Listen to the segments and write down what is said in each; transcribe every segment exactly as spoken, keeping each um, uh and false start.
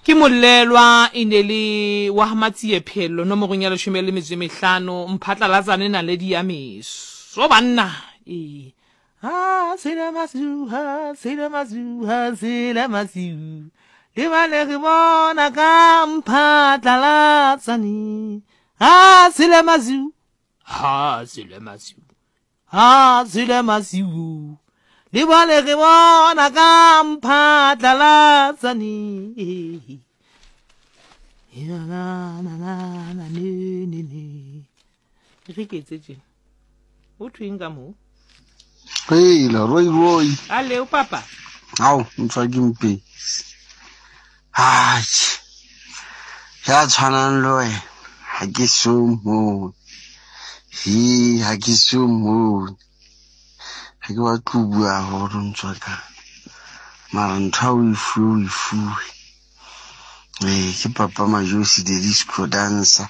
Ke molelwa e ne le wa Matsie Phello nomorong ya leshome le metso e mehlano Mphatlalatsane naledi ya meso banna ee ha sele masiu ha sele masiu ha sele masiu le bale re bona ka Mphatlalatsane ha sele masiu ha sele masiu ha sele masiu le bale re bona ka Mphatlalatsane na na na na ne ne ne re ke etse tjena o thweng ka moo. Heila, Roy Roy. Ale papa. Ao, mtswaki mpe. Atjhe. Ya tshwanang le wena, ha ke so mmone. He, ha ke so mmone. Ha ke batle ho bua haholo ntswaka. Mara ntho ha o e fuwe, o e fuwe. Ee, ke Papa Majosi, the disco dancer,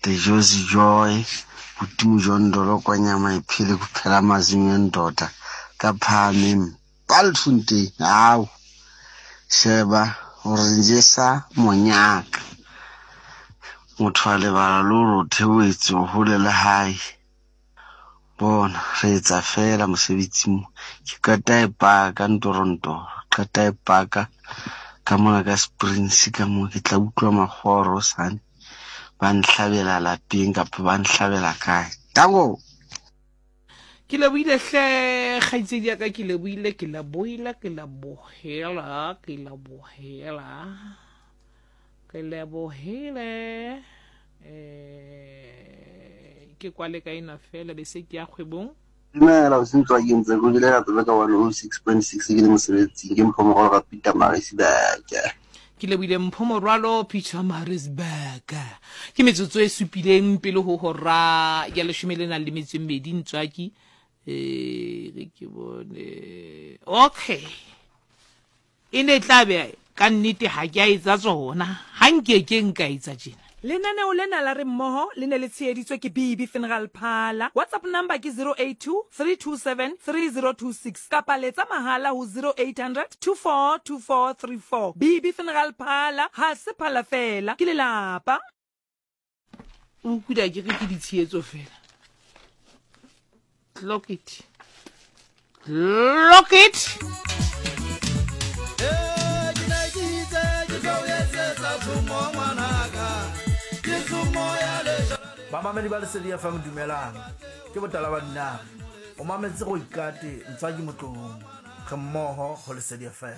the Josi Joy, Modimo Jondolo kwa nyama e phele go phela mazinyo ndoda ka phahameng Bultfontein. Ao, sheba o re jesa monyaka. Motho a lebala le hore o theohetse o hole le hae. Bona re etsa feela mosebetsi mo. Ke qeta e paka ntorontoro, qeta e paka ka mona ka Springs ka mo ke tla utlwa makgowa hore hosane ba nhlabela lapeng kapa ba nhlabela kae. Tango. Ke lebohile hle kgaitsedi ya ka, ke lebohile, ke lebohile, ke lebohela, ke lebohela, ke lebohile. Eh, ke kwale ka ena fela be se ke ya kgwebong. Dumela o sentswa ke ntse go dile ka tsebe ka one oh six point six ke le mosebetsing ke Mpho Morwalo ka Peter Maritzburg. Ke lebohile Mpho Morwalo Peter Maritzburg. Ke metsotso e supileng pele ho hora ya leshome le nang le metso e mmedi ntswaki. Eh, re ke bone. Okay. E ne tla be ka nnete ha ke a etsa tsona. Ha nke ke nka etsa tjena. Lenaneo lena la re mmoho le ne le tsheheditswe ke B B Funeral Parlour. WhatsApp number ke zero eight two, three two seven, three zero two six kapa letsa mahala ho zero eight hundred, two four two four three four. B B Funeral Parlour ha se phala fela, ke lelapa. O kuda ke re ke ditshehetso fela. Clock it. Clock it. Bamamedi ba Lesedi F M dumelang. Ke botala ba dinare. O mametse go ikate ntswaki motlong. Re mmoho ho Lesedi F M.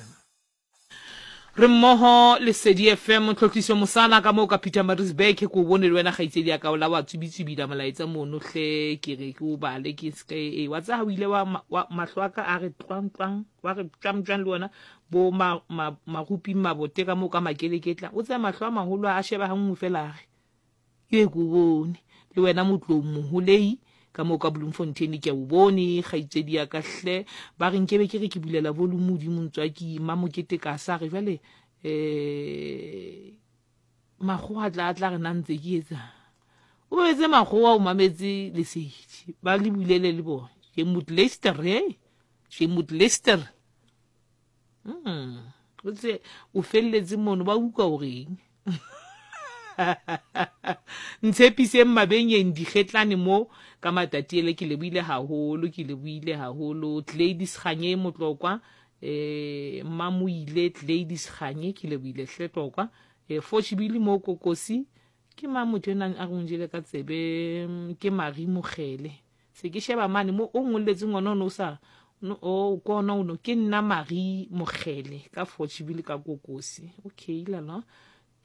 Re mmoho Lesedi F M Tlotliso Mosana ka moo ka Peter Maritzburg ke o bone le wena kgaitsedi ya ka o la wa tsubitsubila molaetsa mono hle ke re ke o bale ke se e wa tsa ha o ile wa mahlo a ka a re tlwang tlwang wa re tjam tjang le wena bo ma marupi mabote ka moo ka makeleketla o tsa mahlo a maholo a sheba ha nngwe fela a re ke ko bone le wena motlong moholei ka moo ka Bloemfontein ke o bone kgaitsedi ya ka hle ba re nkebe ke re ke bulela volume modimo ntswaki Mamokete ka sa re jwale eh makgowa tla tla re na ntse ke etsa o betse makgowa o mametse Lesedi ba le bulele le bona ke Mut Lester eh ke Mut Lester mm o tse o felletse mono ba utlwa o reng Ntshepiseng mabenyeng dikgetlane mo ka matatiele ke lebohile haholo ke lebohile haholo Gladys Kganye Motlokwa eh Mamoile Gladys Kganye ke lebohile hle Tlokwa eh Fochibili mo Kokosi ke ma motho ena a ronjele ka tsebe ke Marie Mogele se ke sheba mane mo o ngolletseng ngwana o sa o kona ono ke nna Marie Mogele ka Fochibili ka Kokosi okay lala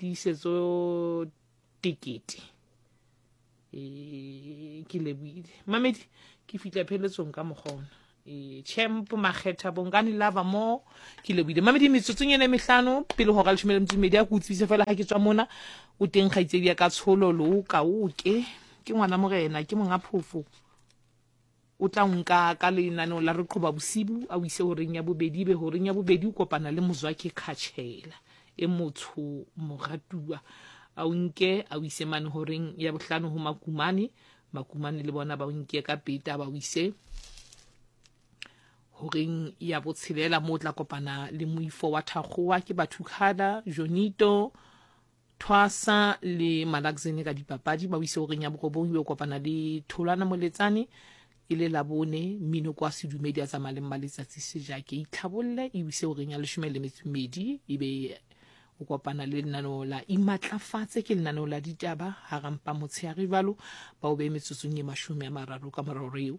tiisetso tekete e ke lebohile mamedi ke fitla pheletsong ka mokgona e champ Makgetha Bongani lava mo ke lebohile mamedi metsotsong ena mehlano pele hora leshome le metso e mmedi a ke utswise fela ha ke tswa mona o teng kgaitsedi ya ka tsholo lo ka o ke ke ngwana morena ke monga phofo o tla nka ka lenaneo la re qhoba bosibu a o ise horeng ya bobedi be horeng ya bobedi o kopana le Mozwaki Khatshela e motho moratuwa a o nke a o ise mane horeng ya bohlano ho Makumane Makumane le bona ba o nke ka peta ba o ise Horeng ya botshelela mo tla kopana le moifo wa Thakgowa ke Bathukhala Jonito Thwasa le Malaxene ka dipapadi. Ba o ise horeng ya borobong, ebe o kopana le Tholwana Moletsane e le Labone mmino kwa sedumedi a tsamaya le Mmaletsatsi Sejake. Itlhabolle e o ise horeng ya leshome le metso e mmedi, ebe o kopana le lenaneo la Imatlafatse, ke lenaneo la ditaba harampa motshehare jwalo. Ba o behe metsotsong e mashome a mararo ka mora hora eo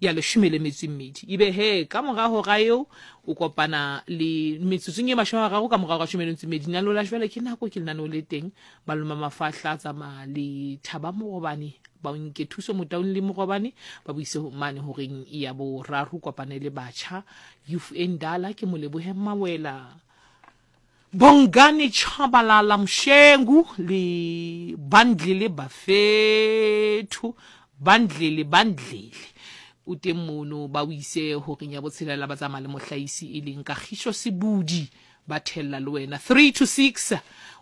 ya leshome le metso e mmedi. Ebe he ka mora hora eo o kopana le metsotsong e mashome a mararo ka mora hora ya leshome le metso e mmedi, lenaneo la Jwale ke nako, ke lenaneo le teng. Malome Mafahla a tsamaya le Thaba Morobane, ba o nke Thuso Motaung le Morobane, ba buise mane horeng ya boraro. Kopane le batjha Youth Endala, ke Molebohe Mawela, Bongani Chabalala Mshengu le Bandlele Bafethu, Bandlele Bandlele o teng mono. Ba o ise horeng ya botshelela, ba tsamaya le mohlahisi e leng Kagisho Sebudi, ba thella le wena three to six.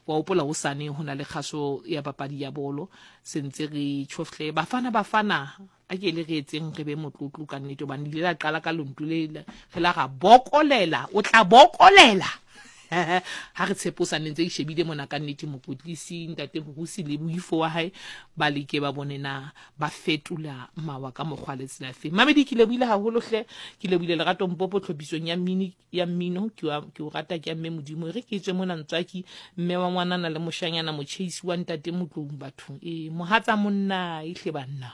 Wa hopola hosane ho na le kgaso ya papadi ya bolo, se ntse re tjhofle Bafana Bafana. A ke le re etseng re be motlotlo ka nnete, hobane le ile la qala ka lonto le re la ra bokolela, o tla bokolela ha re tshepo sa ntse e shebile mona ka nnete. Mokwetlisi ntate Borusi le boifo wa hae ba leke ba bone na ba fetola mawa ka mokgwa le tsela fe. Mamedi, ke lebohile haholo hle, ke lebohile Lerato Mpopo tlhophisong ya mmini ya mmino. Ke wa ke o rata, ke ya mme Modimo. E re ke tswe mona ntswaki mme wa ngwanana le moshanyana motjheisi wa ntate Motlong bathong e mohatsa monna e hle banna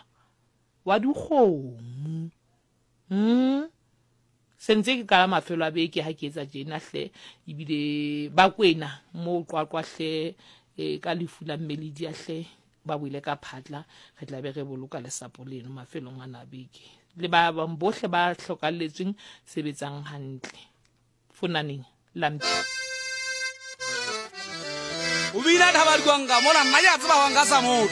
wa dikgomo. Mm sentse ke kala mafelo a beke ha ke etsa tjena hle, ebile ba kwena mo Qwaqwa hle e ka lefu la mmeledi a hle ba buile ka phatla. Re tla be re boloka lesapo leno mafelong ana a beke le ba bang bohle ba hlokalletsweng. Sebetsang hantle fonaneng lampi. O bina thaba dikwanga mola nna ke a tseba wa nka sa motho.